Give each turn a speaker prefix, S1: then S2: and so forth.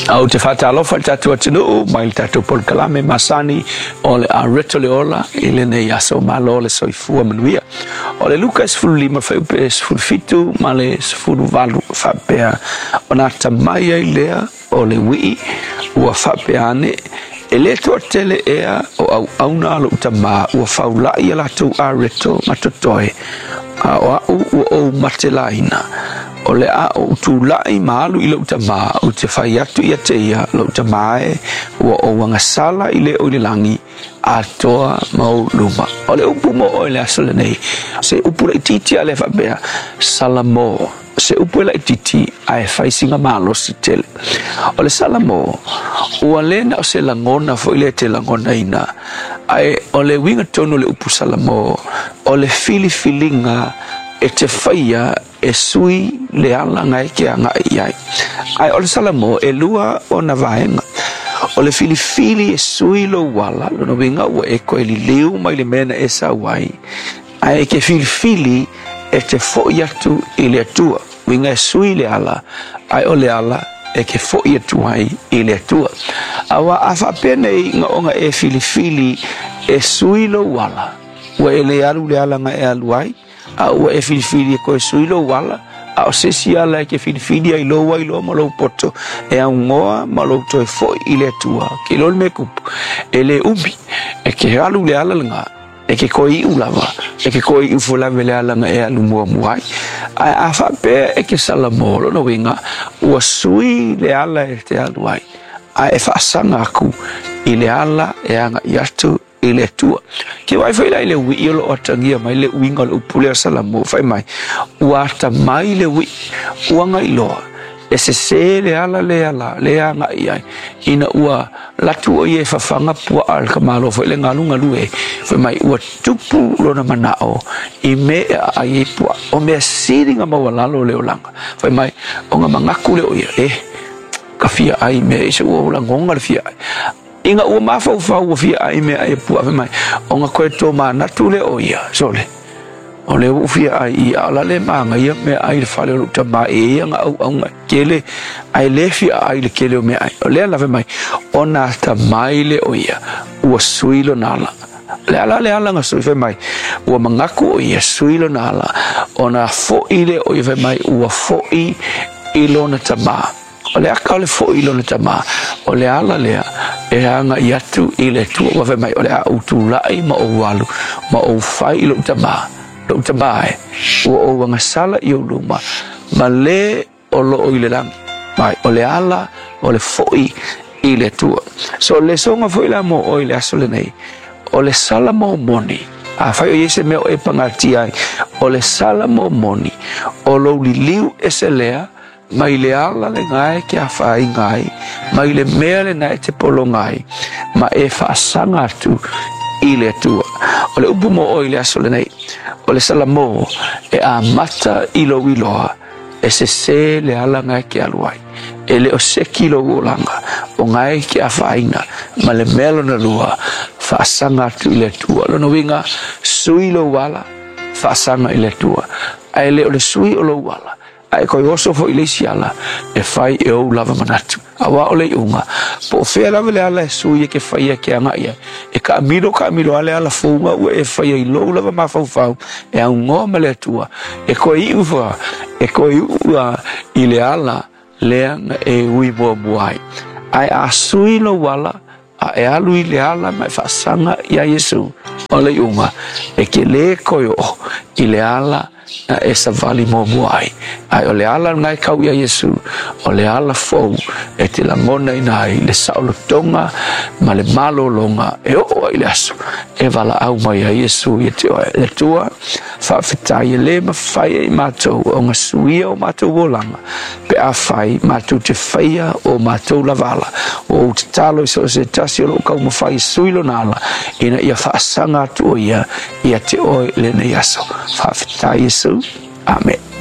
S1: A ou te faatalofa i le tatou atunuu mai le tatou polokalame masani o le Areto le Ola i lenei aso. Malo le soifua manuia. O le Luka 15 fuaiupe 17 ma le 18 faapea, ona atamai ai lea o le uii ua faapea ane, e le toatele ea o auauna a lou tamā ua faula'i a latou areto ma totoe, a o a'u ua ou matelaina. O le a ou tula'i ma alu i lou tamā, ou te fai atu ia te ia, lou tamā e, ua ou agasala i le o i le lagi, atoa ma ou luma. O le upu mo oe i le aso lenei, se upu laitiiti a lea faapea, Salamo. Se upu e laitiiti ae fai sina malosi tele. O le Salamo, ua le na o se lagona foi lea e te lagonaina, ae o le uiga tonu o le upu Salamo, o le filifiliga e te faia e sui le ala na e ke agai i ai. Ae o le Salamo e lua ona vaega. O le filifili e sui lou ala, lona uiga ua e koe liliu mai le mea na e sau ai, ae e ke filifili e te fo'i atu i le Atua. Uiga e sui le ala, ae o le ala e ke fo'i atu ai i le Atua. Aua a faapea nei na ona e filifili e sui lou ala, ua e le alu le ala na e alu ai, a ua e filifili e koe sui lou ala, a o se isi ala e ke filifili ai lou ailoa ma lou poto, e augoa ma lou toe fo'i i le Atua. Ke iloa le mea kupu, e le umi, e ke alu le ala lena, e ke koe iu lava, e ke koe iu foi lava i le ala na e alu muamua ai. Ae a faapea e ke Salamo, lona uiga, ua sui le ala e te alu ai, ae e faasaga atu i le ala e agai atu i le Atua. Ke vaai foi la i le uii o loo atagia mai le uiga o le upu lea o Salamo, fai mai, ua atamai le uii, ua gailoa, e sesē le ala lea la, lea agai ai, ina ua latu o ia e fafaga puaa le tamaloa foi le galugalu e, fai mai, ua tupu lona manao i mea e aai ai puaa, o mea sili na maualalo o le olaga. Fai mai, ona manatu lea o ia, e, ka fia ai mea i se ua ou lagona le fia ai. Ina ua mafaufau ua fia ai mea ai e puaa, fai mai, ona koe tomanatu lea o ia, sole, o lea ua ou fia ai i a o la le manaia mea ai le fale o lou tamā e ia na auauna e tele, ae le fia ai le tele o mea ai. O lea la fai mai, ona atamai lea o ia, ua sui lona ala. Le ala le ala na sui, fai mai, ua manatu o ia sui lona ala, ona fo'i lea o ia, fai mai, ua fo'i i lona tamā. O le aka o le fo'i i lona tamā, o le ala lea e agai atu i le Atua. Ua fai mai, o le a ou tula'i ma ou alu ma ou fai i lou tamā, lou tamā e, ua ou agasala i ou luma, ma le o loo i le lagi. Mai, o le ala o le fo'i i le Atua. So, le soga foi la mo oe i le aso lenei, o le Salamo moni, afai o i ai se mea o e pagatia ai, o le Salamo moni, o lou liliu ese lea, mai le ala lena e ke afaina ai, mai le mea lena e te pologa ai, ma e faasaga atu i le Atua. O le upu mo oe i le aso lenei, o le Salamo e amata i lou iloa, e sesē le ala na e ke alu ai. E le o seki lou olaga, o na e ke afaina, ma le mea lona lua, faasaga atu i le Atua. Lona uiga, sui lou ala, faasaga i le Atua. Ae le o le sui o lou ala, ae koe oso foi i le isi ala e fai e ou lava manatu. Aua o le iuga, po o fea lava le ala e sui e ke faia ke agai ai, e kaamilo kaamilo a le ala fouga ua e faia i lou lava mafaufau e augoa ma le Atua, e koe iu fa, e koe iu a i le ala lea na e ui muamua ai. Ae a sui lou ala, a e alu i le ala ma e faasaga iā Iesu, o le iuga, e ke lē koe oo i le ala na e savali muamua ai. Ae o le ala lena e kau iā Iesu, o le ala fou e te lagonaina ai le saolotoga ma le malologa e oo ai i le aso e valaau mai ai Iesu ia te oe. Le Atua, faafetai e lē mafai e i matou ona suia o matou olaga, pe afai matou te faia o matou lava ala. Ua ou tatalo i so o se tasi o lou taumafai e sui lona ala, ina ia faasaga atu o ia ia te oe i lenei aso. Faafetai Iesu. Amene.